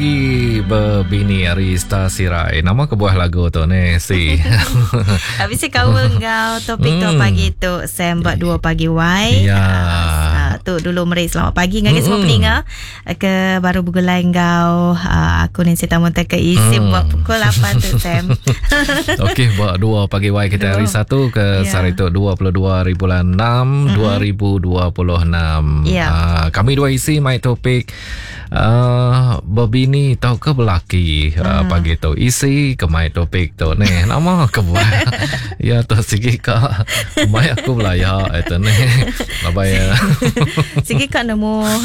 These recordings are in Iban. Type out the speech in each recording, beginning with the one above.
Bebini ari Star Sirai. Nama kebuah lagu tu ni si? Habis si kaul enggau topik tu pagi tu Sam buat 2 pagi wai. Ya. Uh, tu dulu meri selamat pagi ngagai semua peninga ke baru begulai enggau uh, aku ni Sita Munta ke isi mm. buat pukul 8 tu Sam. Okey buat 2 pagi wai kita hari Satu ke yeah. sehari tu 22 hari bulan 6 mm-hmm. 2026. Yeah. Uh, kami dua isi mai topik Uh, bebini tau ke belaki uh, pagi tu isi ke mai topik tu ni nama ke buat ya tu sigi ka mai aku belaya itu ni labai ya sigi ka nemu uh,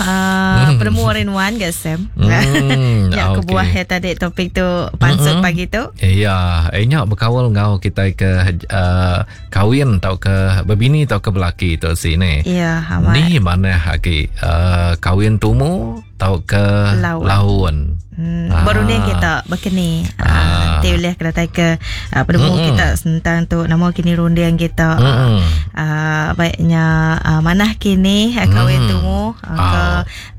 hmm. penemu orang wan ke Sam hmm, ya okay. kebuah ya tadi topik tu pansut hmm. pagi tu ya eh nya berkawal ngau kita ke uh, kawin tau ke bebini tau ke belaki tu sini. Ya, amat. Ni mana lagi uh, kawin tumu tau ke laun. laun. Hmm, ah. Baru ni kita berkeni. Ah, nanti boleh kena tai ke uh, penemu kita tentang tu nama kini runding kita. Uh, baiknya uh, manah kini uh, kawin tumu uh, ke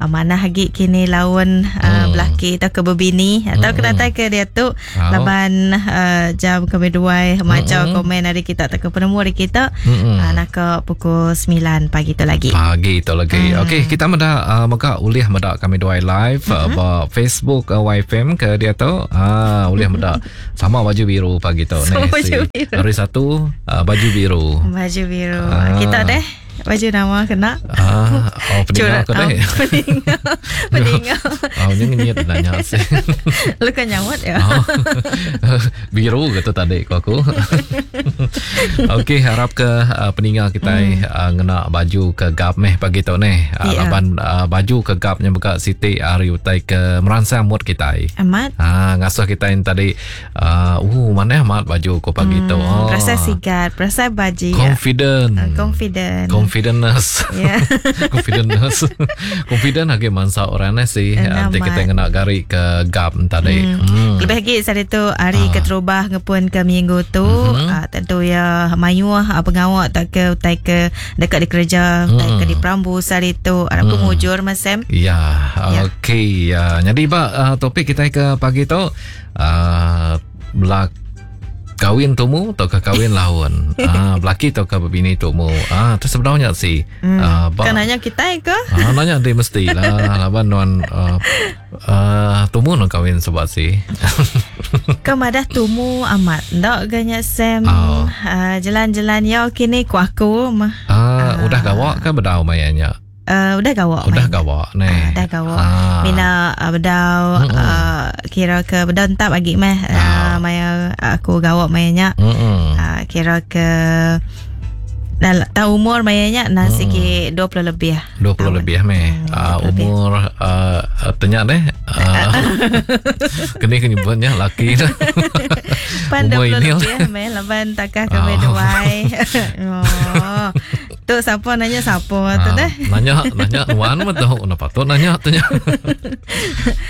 uh, manah lagi kini laun uh, belaki atau ke bebini atau kena tai ke dia tu laban uh, jam kami duai macam komen hari kita atau ke penemu hari kita uh, nak ke pukul 9 pagi tu lagi. Pagi tu lagi. Okey, kita meda uh, mega ulih meda kami duai live uh, ba Facebook uh, YFM ke dia tu. Ah, ulih meda sama baju biru pagi tu Sama ni. baju biru. Hari Satu uh, baju biru. Baju biru. Kita deh baju nama kena. Ah, oh peninga aku deh. Oh, peninga. Peninga. Oh, ni ngenyit nanya sih. Lu kan nyawat ya. Oh. biru kata tadi ko aku. Okey, harap ke uh, peninga kita mm. uh, ngena baju ke gap meh pagi tu ni. Uh, Ya. Laban uh, baju ke gapnya buka siti hari utai ke merangsang mood kita. Amat. Ha, ngasuh kita yang tadi uh, mana amat baju ko pagi tu. Oh. Rasa sigat, rasa baju. ya. Confident. Confident. Confidentness. Ya. Confidentness. Confident lagi mangsa orang ni sih. Nanti Amat. kita kena gari ke gap tadi. Hmm. Lebih lagi saat itu hari keterubah ngepun ke minggu tu mm-hmm. tentu ya mayuh uh, pengawak tak ke utai ke dekat di kerja mm. tak ke di perambu saat itu harap mm. mujur Mas Sam. Ya, Ya. okey. Ya. Jadi pak uh, topik kita ke pagi tu uh, belak kawin tumu atau ke kawin laun. Ah, belaki atau ke berbini tumu. Ah, tu sebenarnya sih. Hmm. Ah, ba, Kan nanya kita ke? ah, nanya dia mesti lah. Laban nuan uh, uh, tumu nak kawin sebab sih. Kemadah tumu amat. Ndak ganya Sam. Oh. Uh, jalan-jalan ya kini ku aku mah. Ah, udah gawak ke bedau mayanya? Uh, udah gawak Udah main. gawak ni. Ah, dah gawak. Ah. Mina uh, bedau uh, kira ke bedau entap lagi meh. Uh, maya aku gawak mayanya. Mm-mm. Uh, kira ke dah tahu umur mayanya nah sikit 20 lebih. 20 lebih meh. Uh, 20 lebih. umur uh, tanya deh. Uh, kini kenyebutnya laki dah. Pan Umur 20 ini lebih meh laban takah ke Ah. duai. oh. Tu siapa nanya siapa tu Ah, deh. Nanya nanya nuan mah tahu nak patut nanya tanya.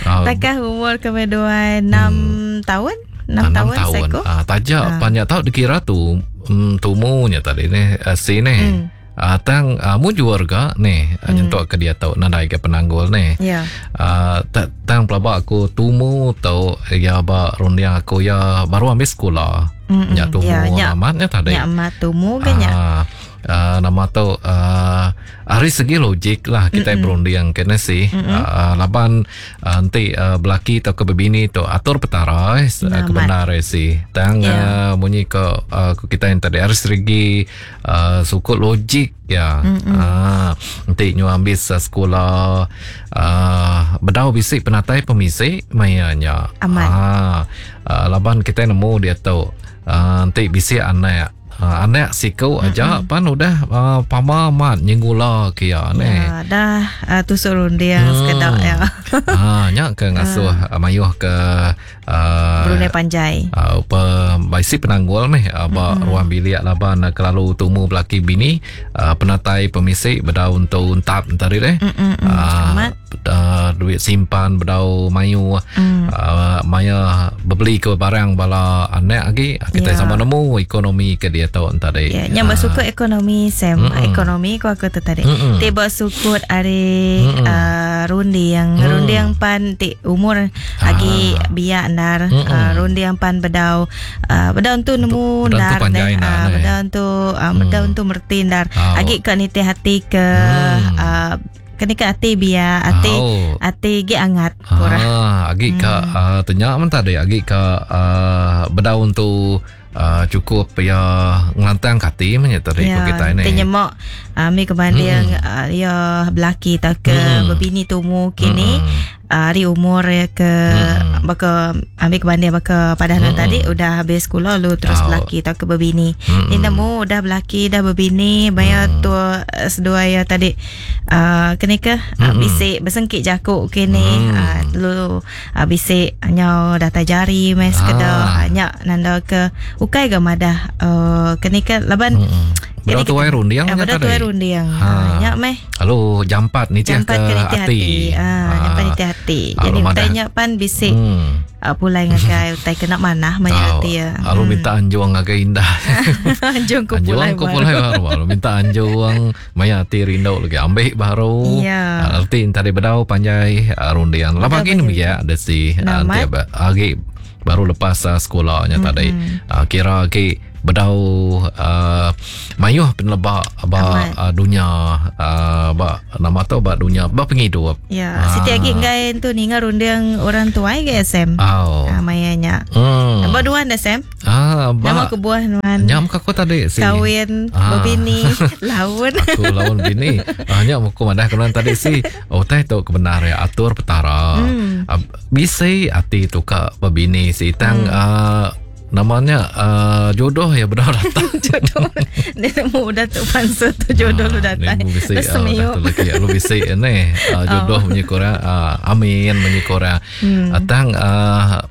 Ah, Takah umur ke duai 6 tahun? 6 ah, tahun seko. Ah, tajak panjang tahu dikira tu mm, tumunya tadi ni uh, si ni. Hmm. Ah, tang uh, mujur ga ni mm. nyentuk ke dia tau nadai ke penanggul ni. Ya. Ah, tang pelabak aku tumu tau ya ba runding aku ya baru ambil sekolah. Mm-mm. Nya tumu Ya, nya. amatnya tadi. Nyak matumu ke nyak? Ah, ah, nama tu ah, hari segi logik lah kita mm berunding kena sih. Ah, laban ah, nanti ah, belaki atau ke bebini tu atur petara eh, Amat. kebenar eh, sih. Tang Ya. ah, bunyi ke ah, ke kita yang tadi harus segi ah, sukut logik ya. Ah, nanti nyu ambil sa sekolah ah, bedau bisik penatai pemisik mayanya. Amat. Ah, ah, laban kita nemu dia tu ah, nanti bisik anak Uh, anak siku aja pan udah uh, pama mat nyenggula ke ya ni. Ya, dah uh, tusuk runding hmm. sekedak ya. Ah nya ke ngasuh uh. mayuh ke uh, Brunei panjai. Uh, pe, baisi penanggul meh uh, ba ruang bilik laban uh, kelalu tumu belaki bini uh, penatai pemisik bedau untuk untap tadi deh. Mm-mm, Ah, amat. uh, duit simpan bedau mayu mm. uh, maya bebeli ke barang bala anak agi kita yeah. sama nemu ekonomi ke diatu tadi. Ya, yeah. nya bersukut ekonomi Sam, mm -mm. ekonomi ku aku tu tadi. Mm -mm. Ti bersukut ari mm -mm. uh, runding, mm. runding pan ti umur ah. agi biak ndar, mm -mm. uh, runding pan bedau uh, bedau tu nemu ndar, uh, bedau tu uh, bedau tu merti ndar. Oh. Agi ke nitih hati ke mm. uh, Keni ke ati biar ati oh. ati gi angat kurang. Ah, agi ka hmm. uh, tanya men tadi agi ka uh, bedaun tu uh, cukup ya ngelantang ke ati men tadi ya, ko kita ni. Tanya mak uh, mi kebanding hmm. uh, ya belaki tak ke hmm. berbini tumu kini. Hmm ari umur ya ke hmm. baka ambil kebanding baka pada hmm. tadi udah habis sekolah lu terus oh. belaki atau ke berbini. Hmm. Ni nemu udah belaki dah berbini bayar hmm. tua eh, seduai ya tadi uh, kini ke hmm. uh, bisik bersengkit jakuk kini hmm. uh, lu uh, bisik nyau datai jari mes ah. kedo uh, nyak nanda ke ukai ga madah uh, kini ke laban hmm. Bedau tuai runding nya tadi. Bedau tuai runding. Ha. Nya meh. Lalu jampat nitih ke hati. hati. Ha, jampat nitih hati. Jadi utai nya pan bisi hmm. uh, pulai ngagai utai kena manah maya oh, hati ya. Lalu hmm. minta anjung ngagai indah. anjung ku pulai baru. pulai baru. Lalu minta anjung maya hati rindu lagi ambil baru. Ya. Arti tadi bedau panjai runding. Lapa agi ni ya desi nanti agi baru lepas uh, sekolah nya tadi. Uh, kira agi bedau uh, mayuh peneleba ba uh, dunya uh, ba nama tu ba dunya ba pengidup. Ya, uh. siti agi enggai tu ninga runding orang tuai ke SM. Oh. Uh, maya nya. Hmm. Ba duan dah Sam. Ah, ba. Nama kebuah nuan. Nyam ka aku tadi si. Kawin, ah. bini, laun. Aku laun bini. Ah, nya aku madah ke nuan tadi si. Oh, utai tu kebenar ya atur petara. Hmm. Uh, bisi ati tu ka bebini si tang hmm. uh, namanya uh, jodoh ya benar datang jodoh dia nemu udah tu pansu tu jodoh lu datang ni bisi uh, tu lagi lu bisi ni uh, jodoh oh. munyi korang uh, amin munyi korang hmm. uh, tang uh,